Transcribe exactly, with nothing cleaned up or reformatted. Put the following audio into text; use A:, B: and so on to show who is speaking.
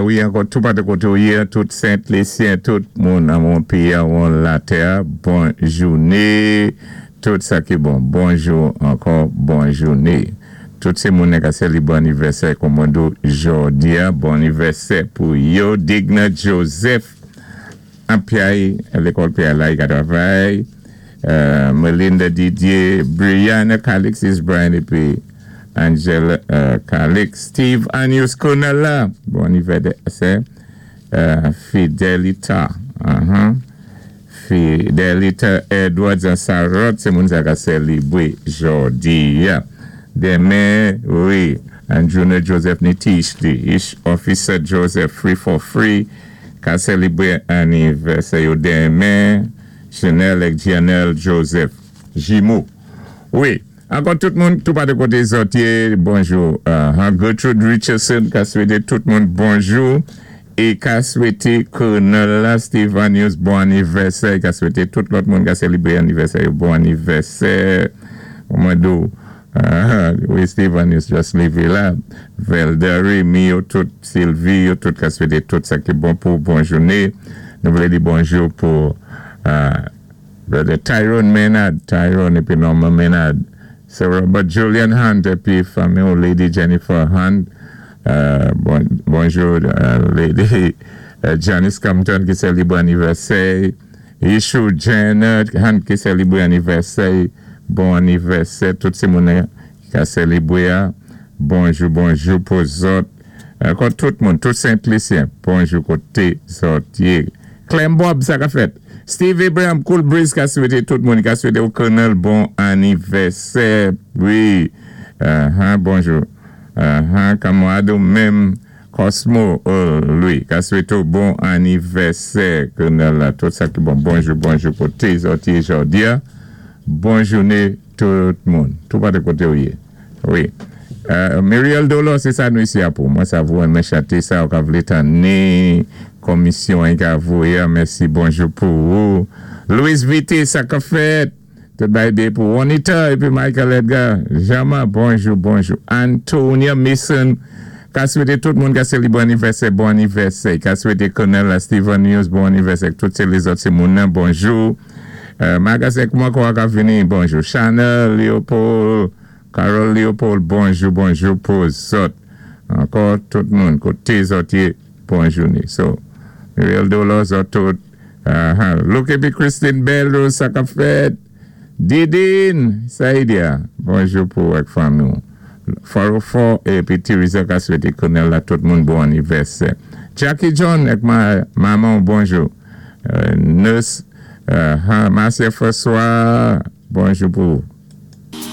A: Wi, ankò tou patou koté ou yé, tout Sent-Lisyen, tout moun an moun péyi an latè, bon jouné, tout sa ki bon. Bonjou ankò, bon jouné. Tout sé moun ka sélibwé anivèsè kòmando jòdi a, bon anivèsè pou yo. Digna Joseph, an Piaye, lékòl Piaye la, i ka travay. Euh, Melinda Didier, Brianna Calix, Brian épi Angela euh, Calix, Steve Anius Konala, bon anivèsè, euh, Fidelita, uh-huh. Fidelita Edwards an Sarot, sé moun sa ka sélibwé jòdi a. Denmen, wi, Andruna Joseph Nitish, the Ish Officer Joseph Free for Free, ka sélibwé anivèsè yo denmen, Chanel ek Janelle Joseph, Jimo. Wi, ankò tout moun, tou patou koté zòt yé, bonjou. Uh, Gertrude Richardson, ka swété tout moun bonjou. É ka swété Colonel la Stevanius bon anivèsè, ka swété tout lòt moun ka sélibwé anivèsè, bon anivèsè. Mwen do, uh, wi, Stevanius just lévé la. Velda Remy, yo tout, Sylvie, yo tout ka swété tout sa ki bon pou bon jouné. Nou vlé di bonjou pou uh, Brother Tyrone Maynard, Tyrone épi Norma Maynard, Sir Robert Julian Hunt épi fanmi Lady Jennifer Hunt. Euh, bon, bonjou euh, Lady euh, Janice Compton ki sélibwé anivèsè. Ishu Janet Hunt ki sélibwé anivèsè. Bon anivèsè, tout sé moun ki ka sélibwé. Bonjou, bonjou pou zòt. Ankò tout moun, tout Sent-Lisyen. Bonjou koté zòt yé. Clem Bob, sa ka fèt. Steve Abraham, Cool Breeze, ka swété tout moun, ka swété ou Colonel bon anivèsè. Wi. Uh-huh, bonjou. Uh-huh, Kamwado menm Cosmo, oh, Louis, ka swété ou bon anivèsè, Colonel la, tout sa ki bon. Bonjou, bonjou koté zòt yé jòdi a. Bon jouné tout moun. Tou patou koté ou yé. Wi. Euh, Muriel Dolo, sé sa nou isi a pou. Mwen sa vou renmen chanté sa, ou ka vlé tanné komisyon an ka voyé. Mèsi, bonjou pou ou. Louis Vité, sa ka fèt. Tout bay de pou Juanita épi Michael Edgar. Jama, bonjou, bonjou. Antonia Mason, ka swété tout moun ka sélibwé anivèsè, bon anivèsè. Ka swété Colonel la Steven News, bon anivèsè. Tout sé lézòt sé moun nan, bonjou. Euh, Magasek mwen kwa ka vini, bonjou. Chanel, Léopold, Carol Léopold, bonjou, bonjou pou zòt. Ankò tout moun, koté zòt yé, bon jouné. So, Muriel Dolo, zòt tout. Uh-huh. Look épi Christine Bello, sa ka fèt. Didine, Saïdia, bonjou pou ak fanmi. Farofo épi Teresa ka swété Colonel la tout moun bon anivèsè. Jackie John ak ma manman, bonjou. Euh, Nurse, uh, Marcia François, bonjou pou